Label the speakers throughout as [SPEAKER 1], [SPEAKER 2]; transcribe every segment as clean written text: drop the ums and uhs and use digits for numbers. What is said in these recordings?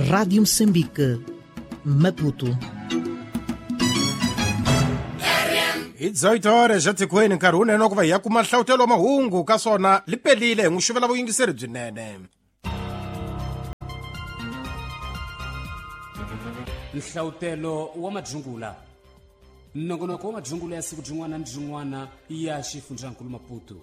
[SPEAKER 1] Rádio Moçambique, Maputo.
[SPEAKER 2] Hi 18 horas xa tikweni nkarhi wunene wa ku va hi ya kuma nhlawutelo wa mahungu ka swona li pelile hi n'wi xuvela vuyingiseri byinene.
[SPEAKER 3] Nhlawutelo wa madzungula, nongonoko wa madzungula ya siku byin'wana ni byin'wana ya xifundzankulu Maputo.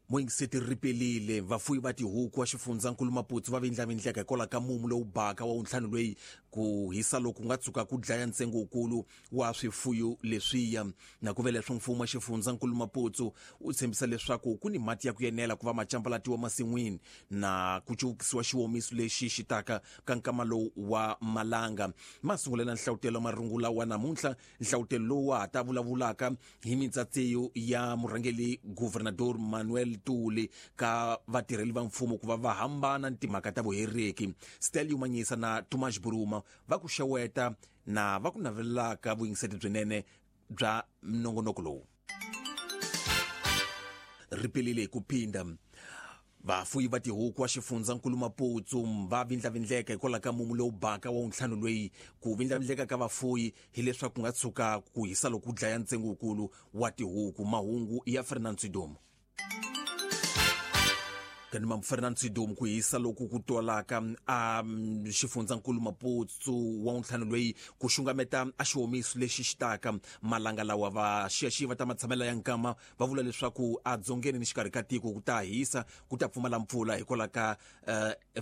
[SPEAKER 4] Muyingiseti ripelile vafuyi va tihuku wa xifundzankulu Maputo va vindlavindleka hikwalaho ka mumu lowu baka wa wuntlhanu loyi ku hisa loku nga tshuka ku dlaya ntsengo wukulu wa swifuyo leswiya. Na ku ve leswo mfumo wa xifundzankulu Maputo wu tshembisa leswaku ku ni mati ya ku yenela ku va macambalatiwa masin'wini na ku cuvukisiwa xiwomiso lexi xi taka ka nkama lowu wa malanga. Masungulela nhlawutelo marungula wa namuntlha, nhlawutelo lowu wa ha ta vulavulaka hi mitsatseyo ya murhangeri Governador Manuel Tuli ka vatirheli va mfumo ku va va hambana ni timhaka ta vuhereki. Stelio Manyisa na Tomas Buruma va ku xeweta na va ku navelelaka vuyingiseti byinene bya nongonoko lowu. Ripelile hi ku phinda vafuyi va tihuku wa xifundzankulu Maputo va vindlavindleka hikwalaho ka mumu lowu baka wa wuntlhanu loyi. Ku vindlavindleka ka vafuyi hileswaku ku nga tshuka ku hisa loku dlaya ntsengo wukulu wa tihuku. Mahungu ya Fernand Sidomo. Kanima Fernand Sidomo, ku hisa loku ku twalaka a xifundzankulu Maputo wa wuntlhanu loyi ku xungameta a xiwomiso lexi xi taka malanga lawa. Va xiyaxiya va ta matshamela ya nkama va vula leswaku a dzongeni ni xikarhi ka tiko ku ta hisa, ku ta pfumala mpfula hikwalaho ka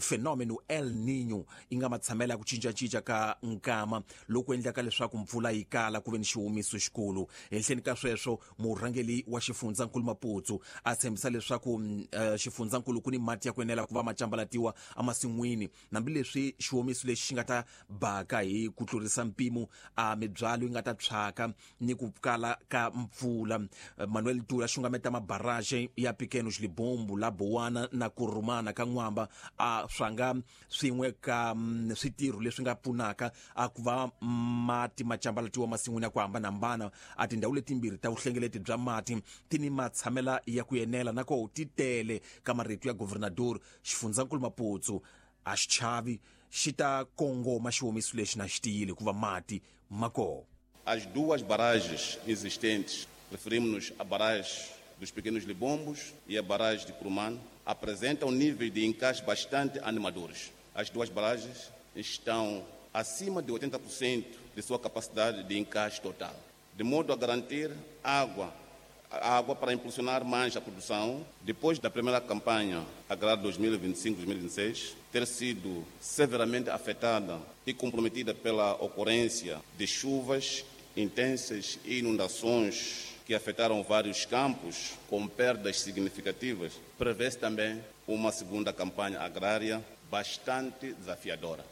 [SPEAKER 4] fenomeno El Niño yi nga matshamela ya ku cincacinca ka nkama loku endlaka leswaku mpfula yi kala ku ve ni xiwomiso xikulu. Henhleni ka sweswo murhangeri wa xifundzankulu Maputo a tshembisa leswaku xifundzankulu ku ni mati ya ku enela ku va macambalatiwa emasin'wini, hambileswi xiwomiso lexi xi nga ta baka hi ku tlurisa mpimo a mibyalo yi nga ta tshwaka ni ku kala ka mpfula. Manuel Tula xungameta mabaraje ya Pequenos Libombo la Bowana na Kurumana ka N'wamba a swanga swin'we ka switirho leswi nga pfunaka a ku va mati macambalatiwa masin'wini ya ku hambanahambana. A tindhawu letimbirhi ta vuhlengeleti bya mati ti ni matshamela ya ku enela na koho ti tele. Ka marito ya Governador, xifundzankulu Maputo a xi chavi, xi ta kongoma xiwomiso lexi na xi tiyile hikuva mati ma koho.
[SPEAKER 5] As duas barragens existentes, referimos-nos à barragem dos Pequenos Libombos e a barragem de Curumano, apresentam níveis de encaixe bastante animadores. As duas barragens estão acima de 80% de sua capacidade de encaixe total, de modo a garantir água para impulsionar mais a produção, depois da primeira campanha agrária 2025-2026 ter sido severamente afetada e comprometida pela ocorrência de chuvas intensas e inundações que afetaram vários campos, com perdas significativas, prevê-se também uma segunda campanha agrária bastante desafiadora.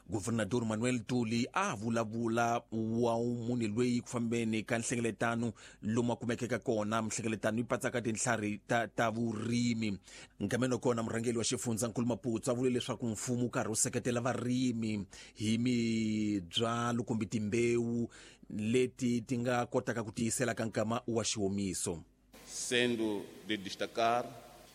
[SPEAKER 4] Governador Manuel Tuli a vulavula wa munhu loyi ku fambeni ka nhlengeletano lomu a kumekeke kona. Mihlengeletano yi patsaka tintlhari ta vurimi. Nkameni wa kona murhangeri wa xifundzankulu Maputo a vule leswaku mfumo wu karhi wu seketela varimi hi mibyalo kumbe timbewu leti ti nga kotaka ku tiyisela ka nkama wa xiwomiso.
[SPEAKER 5] Sendo de destacar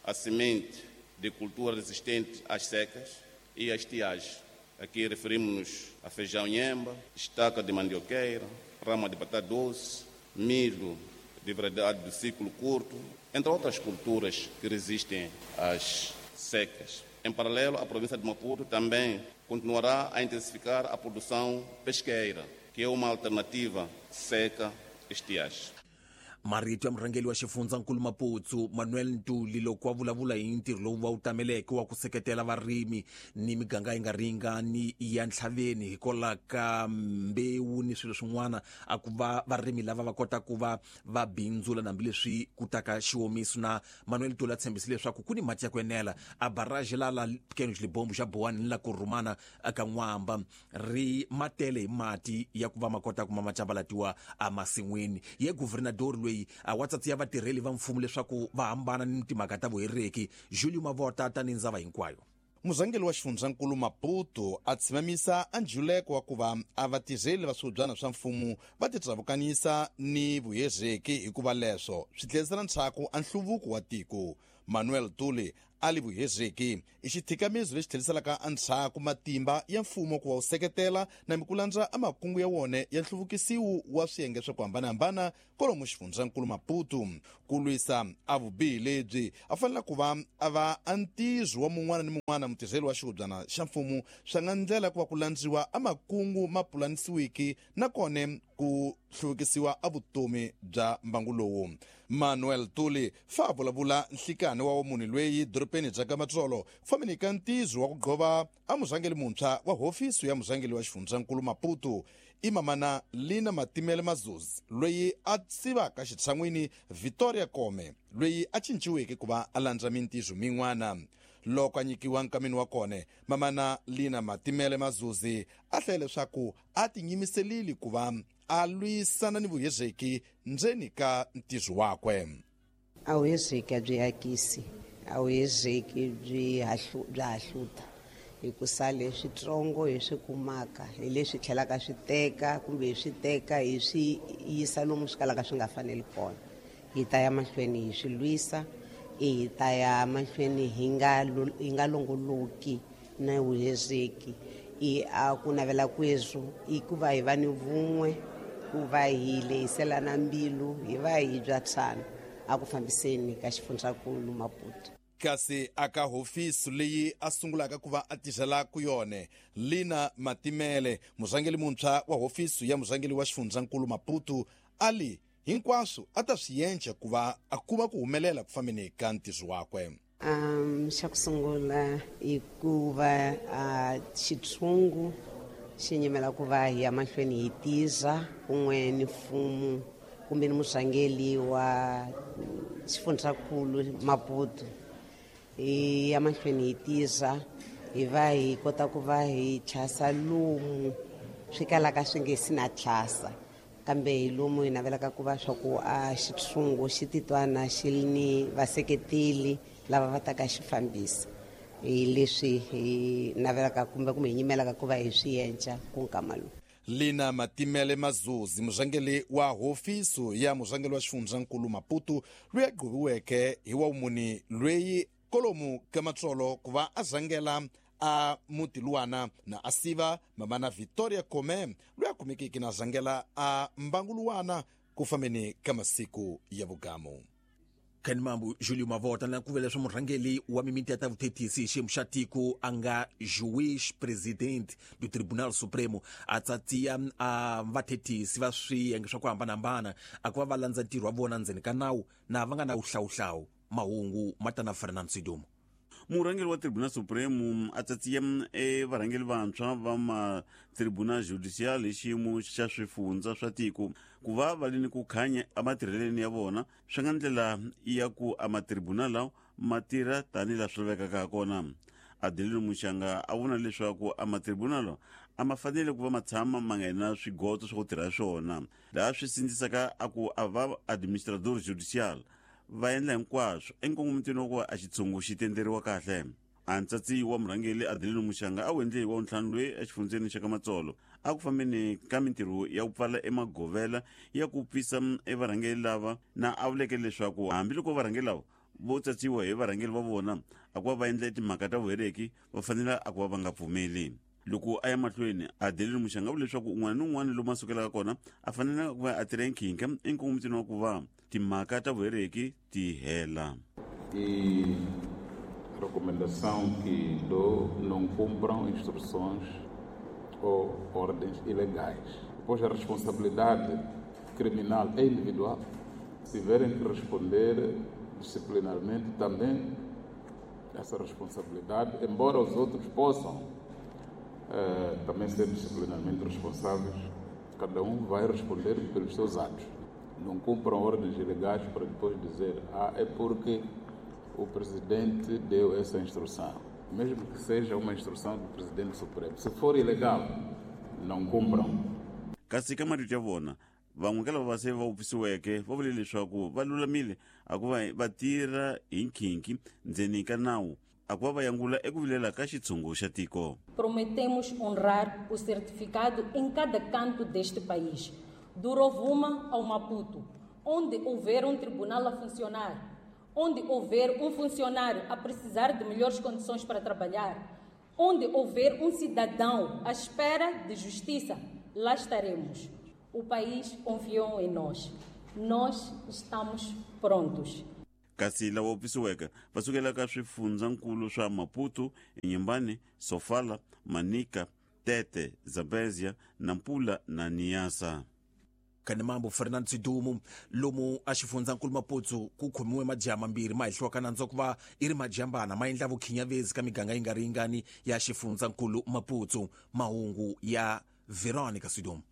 [SPEAKER 5] a semente de cultura resistente às secas e às estiagens. Aqui referimos-nos a feijão nhemba, estaca de mandioqueira, rama de batata doce, milho de variedade do ciclo curto, entre outras culturas que resistem às secas. Em paralelo, a província de Maputo também continuará a intensificar a produção pesqueira, que é uma alternativa seca-estiagem.
[SPEAKER 4] Marito ya murhangeri wa xifundzankulu Maputo Manuel Ntuli loko a vulavula hi ntirho lowu va wu tameleke wa ku seketela varimi ni miganga yi nga ringani ya ntlhaveni hikwalaho ka mbewu ni swilo swin'wana, a ku va varimi lava va kota ku va va bindzula hambileswi ku taka xiwomiso. Na Manuel Ntuli a tshembisile leswaku ku ni mati ya ku enela a barrage la la Pequenos Libombo xa Bowana ni la Kurumana ka N'wamba ri matele hi mati ya ku va ma kota ku ma macambalatiwa emasin'wini. Ye governador loyi a wa tsatsiya vatirheli va mfumo leswaku va hambana ni timhaka ta vuhereki. Julio Mavota tani ndzava hinkwayo.
[SPEAKER 6] Murhangeri wa xifundzankulu Maputo a tshimamisa a njuleko wa ku va a vatirheli va swihubyana swa mfumo va titlavukanisa ni vuhereki hikuva leswo swi tlherisela ndzhaku a nhluvuko wa tiko. Manuel Tuli A li vuhezeki i xithikamiso lexi tlheliselaka endzhaku matimba ya mfumo ku va wu seketela na mikulandza a makungu ya wona ya nhluvukisiwu wa swiyenge swa ku hambanahambana kwalomu xifundzankulu Maputo. Ku lwisa a vubihi lebyi a fanele ku va a va a ntizo wa mun'wana ni mun'wana mutirheli wa xihubyana xa mfumo swa nga ndlela ku va ku landziwa a makungu ma pulanisiwiki nakona ku hluvukisiwa a vutomi bya mbangu lowu. Manuel Tuli fa vulavula nhlikani wa munhu loyi dorobeni bya ka Matsolo ku fambeni ka ntizo wa ku gqova a murhangeri muntshwa wa hofisi ya murhangeri wa xifundzankulu Maputo i mamana Lina Matimele Mazuzi loyi a sivaka xitshan'wini Victoria Kome loyi a cinciweke ku va a landza mintizo min'wana. Loko a nyikiwa nkamini wa kona, mamana Lina Matimele Mazuzi a hlaya leswaku a tinyimiselile ku va a lwisana ni vuhezeki ndzeni ka ntizo wakwe.
[SPEAKER 7] A vuhezeki a byi akisi, a vuhezeki byi bya hahluta hi ku sale switsongo hi swi kumaka hi leswi tlhelaka swi teka kumbe hi swi teka hi swi yisa lomu swi kalaka swi nga faneli kona. Hi ta ya mahlweni hi swi lwisa, hi ta ya mahlweni hi nga longoloki na vuhezeki. I a ku navela kwezu i ku va hi va ni vun'we, ku va hi lehiselana mbilu, hi va hi byatsana a ku fambiseni ka xifundzankulu Maputo.
[SPEAKER 6] Kasi aka hofisi leyi a sungulaka ku va a tirhela ku yona, Lina Matimele murhangeri muntshwa wa hofisi ya murhangeri wa xifundzankulu Maputo a li hinkwaswo a ta swi endla ku va a kuma ku humelela ku fambeni ka ntirho wakwe.
[SPEAKER 7] Xa ku sungula i ku va xitshungu xi nyimela ku va hi ya mahlweni hi tiza kun'we ni mfumo kumbe ni murhangeri wa xifundzankulu Maputo. Hi ya mahlweni hi tiza hi va hi kota ku va hi tlhasa lomu swi kalaka swi nge si na tlhasa, kambe hi lomu hi navelaka ku va swa ku a xitshungu xi titwana xi ri ni vaseketeli lava va taka xi fambisa. Hi leswi hi navelaka kumbe hi nyimelaka ku va hi swi endla ku nkama lowu.
[SPEAKER 6] Lina Matimele Mazuzi murhangeri wa hofisi ya murhangeri wa xifundzankulu Maputo loyi a gqoviweke hi wa muni loyi kolomu ka Matsolo ku va a rhangela a muti luwana na a siva mamana Victoria Kome loyi a kumekeke na rhangela a mbangu luwana ku fambeni ka masiku ya vugamu.
[SPEAKER 4] Ken Mambu Julio Mavota na ku vela swa murhangeri wa mimiti ya ta vuthethisi xiyimo xa tiko a nga juiz president do Tribunal Supremo a tsatsiya a vathethisi va swiyenge swa ku hambanahambana a ku va va landza ntirho wa vona ndzeni ka nawu na va nga na wuhlawuhlawu. Mahungu ma ta na Fernando Sidumo.
[SPEAKER 8] Murhangeri wa Tribunal Supremo a tsatsiya varhangeri vantshwa va ma Tribunal Judicial hi xiyimo xa swifundza swa tiko ku va va li ni ku khanya ematirheleni ya vona swi nga ndlela ya ku a matribunal lawa ma tirha tanihi laha swi lavekaka ha kona. Adelino Muxanga a vona leswaku a matribunal a ma fanele ku va ma tshama ma nga na swigoto swa ku tirha swona, laha swi sindzisaka a ku a va administrador judicial va endla hinkwaswo enkongomitweni wa ku va a xitshungu xi tenderiwa kahle. A ntsatsi wa murhangeri Adelino Muxanga a wu endle hi wa ntlhanu loyi exifundzeni xa ka Matsolo a ku fambeni ka mintirho ya ku pfala emagovela ya ku pfisa evarhangeri lava na a vuleke leswaku hambiloko varhangeri lava vo tsatsiwa hi varhangeri va vona a ku va va endla timhaka ta vuhereki va fanele a ku va va nga pfumeli. Loko a ya mahlweni Adelino Muxanga vule leswaku un'wana ni un'wana lomu a sukelaka kona a fanele ku va a tirha nkhinkha enkongomitweni wa ku va timhaka ta vuhereki ti hela.
[SPEAKER 9] E recomendação que dou, não cumpram instruções ou ordens ilegais. Depois a responsabilidade criminal é individual. Se tiverem que responder disciplinarmente também essa responsabilidade, embora os outros possam também ser disciplinarmente responsáveis, cada um vai responder pelos seus atos. Não cumpram ordens ilegais para depois dizer, é porque o presidente deu essa instrução. Mesmo que seja uma instrução do presidente supremo. Se for ilegal, não cumpram.
[SPEAKER 8] Kasi ka marito ya vona, van'we ka lava va se va wupfisiweke va vule leswaku va lulamile a ku va va tirha hi nkhinkhi ndzeni ka nawu a ku va va yangula eku vilela ka xitshungu xa tiko.
[SPEAKER 10] Prometemos honrar o certificado em cada canto deste país, do Rovuma ao Maputo, onde houver um tribunal a funcionar, Onde houver um funcionário a precisar de melhores condições para trabalhar, onde houver um cidadão à espera de justiça, lá estaremos. O país confiou em nós. Nós estamos prontos.
[SPEAKER 8] Kasi lava wupfisiweke va sukela ka swifundzankulu swa Maputo, Inhambane, Sofala, Manica, Tete, Zambezia, Nampula na Niassa.
[SPEAKER 4] Kanimambo Fernando Sidumu lomu a xifundzankulu Maputo ku khomiwe majaha mambirhi ma hehliwaka nandzu ku va i ri majambana ma endla vukhinyavezi ka miganga yi nga ri yingani ya xifundzankulu Maputo. Mahungu ya Veronica Sidumu.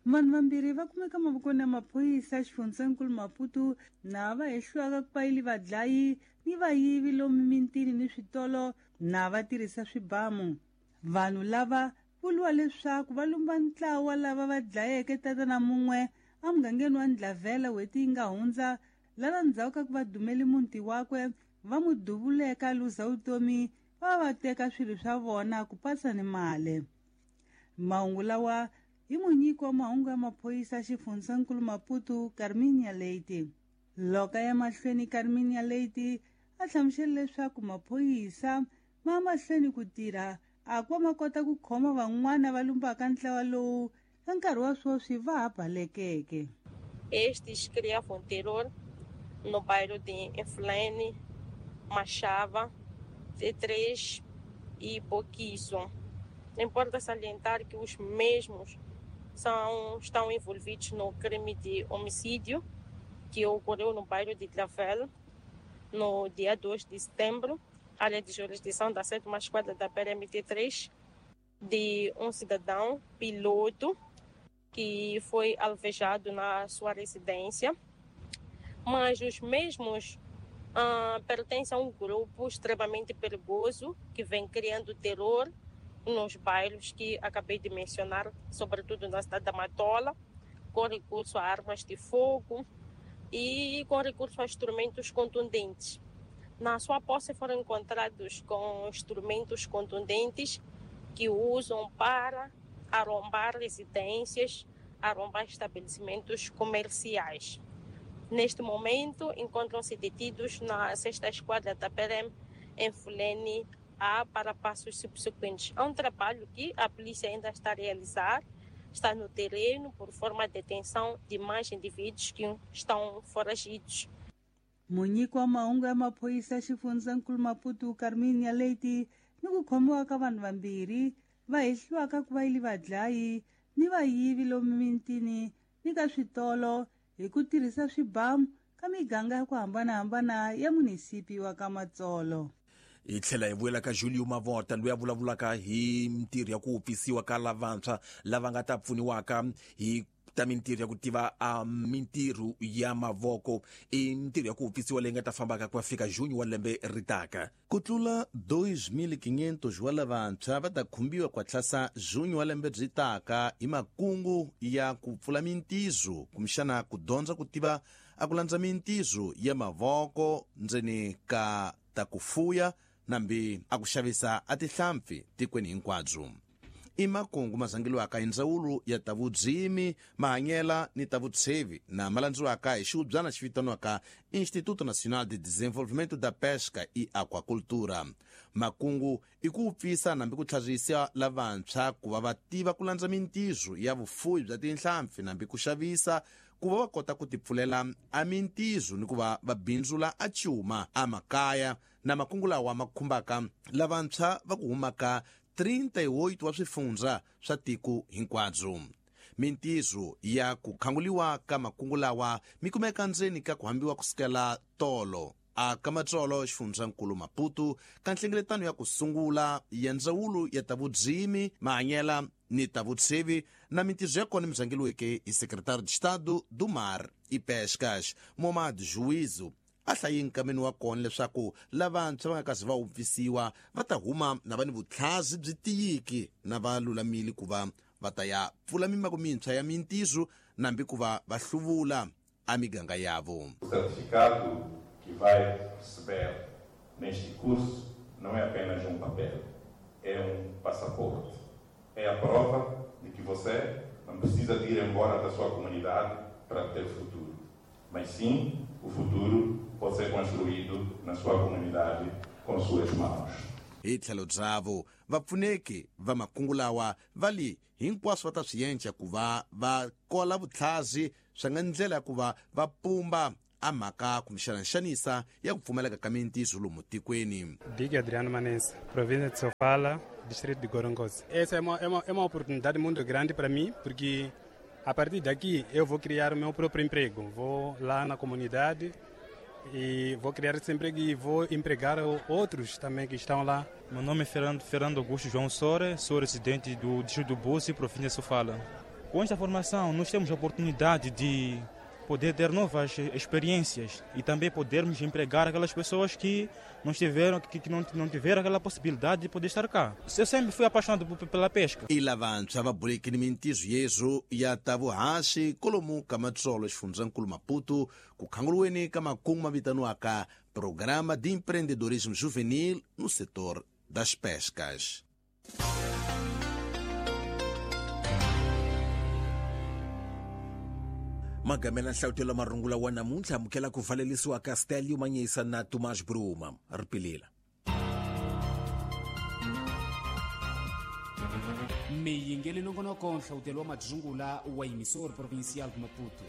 [SPEAKER 11] Vanhu vambirhi va kumeka mavokweni ya maphorisa xifundzankulu Maputo na va hehliwaka ku va vadlayi ni vayivi lomu mintini ni switolo na va tirhisa swibamu. Vanhu lava vuriwa leswaku va lumba ntlawa lava va dlayeke tatana mun'we emugangeni wa Ndlavela n'hweti yi nga hundza, lava ndzhaku ka ku va dumele muti wakwe va n'wi duvuleka luza vutomi va teka swilo swa vona ku pasa ni mali. Mahungu lawa hi munyiki wa mahungu ya maphorisa xifundzankulu Maputo Carminia Leite. Loko ya mahlweni Carminia Leite a hlamusela leswaku maphorisa ma mahlweni ku tirha a ku va ma kota ku khoma van'wana va lumbaka ntlawa lowu ka nkarhi wa sweswi va ha balekeke.
[SPEAKER 12] Estes criavam terror no bairro de Inflene, Machava, T3 e Boquizo. Importa salientar que os mesmos estão envolvidos no crime de homicídio que ocorreu no bairro de Tlavel no dia 2 de setembro, área de jurisdição da 7ª Esquadra da PRMT3, de um cidadão piloto que foi alvejado na sua residência. Mas os mesmos pertencem a um grupo extremamente perigoso que vem criando terror nos bairros que acabei de mencionar, sobretudo na cidade da Matola, com recurso a armas de fogo e com recurso a instrumentos contundentes. Na sua posse foram encontrados com instrumentos contundentes que usam para arrombar residências, arrombar estabelecimentos comerciais. Neste momento, encontram-se detidos na 6ª Esquadra da PRM em Fulene A para passos subsequentes. É um trabalho que a polícia ainda está a realizar, está no terreno por forma de detenção de mais indivíduos que estão foragidos.
[SPEAKER 11] Munyiki wa mahungu ya maphorisa xifundzankulu Maputo Carminia Leite ni ku khomiwa ka vanhu vambirhi va hehliwaka ku va yili vadlayi ni vayivi lomu mintini ni ka switolo hi ku tirhisa swibamu ka miganga ya ku hambanahambana ya munisipi wa ka Matsolo.
[SPEAKER 4] Hi tlhela hi vuyela ka Julio Mavota loyi a vulavulaka hi mintirho ya ku wupfisiwa ka lavantshwa lava nga ta pfuniwaka hi ta mintirho ya ku tiva a mintirho ya mavoko. I mintirho ya ku wupfisiwa leyi nga ta fambaka ku ya fika junho wa lembe ri taka.
[SPEAKER 6] Ku tlula 2500 wa lavantshwa va ta khumbiwa ku tlhasa junho wa lembe byi taka hi makungu ya ku pfula mintirho kumbexana ku dyondza ku tiva a ku landza mintirho ya mavoko ndzeni ka ta ku fuya nambi a ku xavisa a tihlampfi tikweni hinkwabyo. I makungu ma zangeliwaka hi ndzawulo ya ta vudzimi, mahanyela ni ta vutshevi na ma landziwaka hi xihubyana xi vitaniwaka Instituto Nacional de Desenvolvimento da Pesca e Aquacultura. Makungu i ku wupfisa nambi ku tlharisa lavantshwa ku va va tiva ku landza mintirho ya vufuwi bya tinhlampfi nambi ku xavisa ku va va kota ku tipfulela a mintirho ni ku va va bindzula a cuma a makaya na makungu lawa ma khumbaka lavantshwa va ku humaka 38 wa swifundza swa tiko hinkwabyo. Mintirho ya ku khanguliwa ka makungu lawa mi kumeka ndzeni ka ku hambiwa kusukela tolo a ka Matsolo xifundzankulu Maputo ka nhlengeletano ya ku sungula ya ndzawulo ya ta vudzimi, mahanyela ni ta vutshevi na mintirho ya kona mi zangeliweke hi Secretário de Estado do Mar e Pescas Momad Juízo. A hlayi nkameni wa kona leswaku lavantshwa va nga kasi va wupfisiwa va ta huma na va ni vutlhazi byi tiyiki na va lulamile ku va va ta ya pfula mimako mintshwa ya mintirho nambi ku va va hluvula a miganga yavo.
[SPEAKER 9] O certificado que vai receber neste curso não é apenas um papel, é um passaporte. É a prova de que você não precisa de ir embora da sua comunidade para ter futuro, mas sim o futuro pode ser construído na sua comunidade com suas mãos.
[SPEAKER 6] Hi tlhelo byavo vapfuneki va makungu lawa va li hinkwaswo va ta swi yenca ku va va kola vutlhazi swa nga ndlela ya ku va va pumba a mhaka kumbexana nxanisa ya ku pfumaleka ka mintirho lomu tikweni.
[SPEAKER 13] Dick Adriano Manense, província de Sofala, distrito de Gorongosa. Essa é uma oportunidade muito grande para mim, porque a partir daqui eu vou criar o meu próprio emprego. Vou lá na comunidade e vou criar esse emprego e vou empregar outros também que estão lá.
[SPEAKER 14] Meu nome é Fernando Augusto João Sore, sou residente do distrito do Búzi, província de Sofala. Com esta formação, nós temos a oportunidade de poder ter novas experiências e também podermos empregar aquelas pessoas que não tiveram, que não tiveram aquela possibilidade de poder estar cá. Eu sempre fui apaixonado pela pesca.
[SPEAKER 6] I lavantshwa va bulekini mintirho yeswo ya ta vuhaxi kolomu ka matsolo xifundzankulu Maputo ku khanguriweni ka makungu ma vitaniwaka Programa de Empreendedorismo Juvenil no setor das pescas.
[SPEAKER 4] Magamela nhlawutelo marungula wa namuntlha amukela ku valelisiwa ka Stelio Manyisa na Tomás Bruma ripilila.
[SPEAKER 3] Miyingeli nongonoko nhlawutelo wa madzungula wa yimisori provincial de Maputo.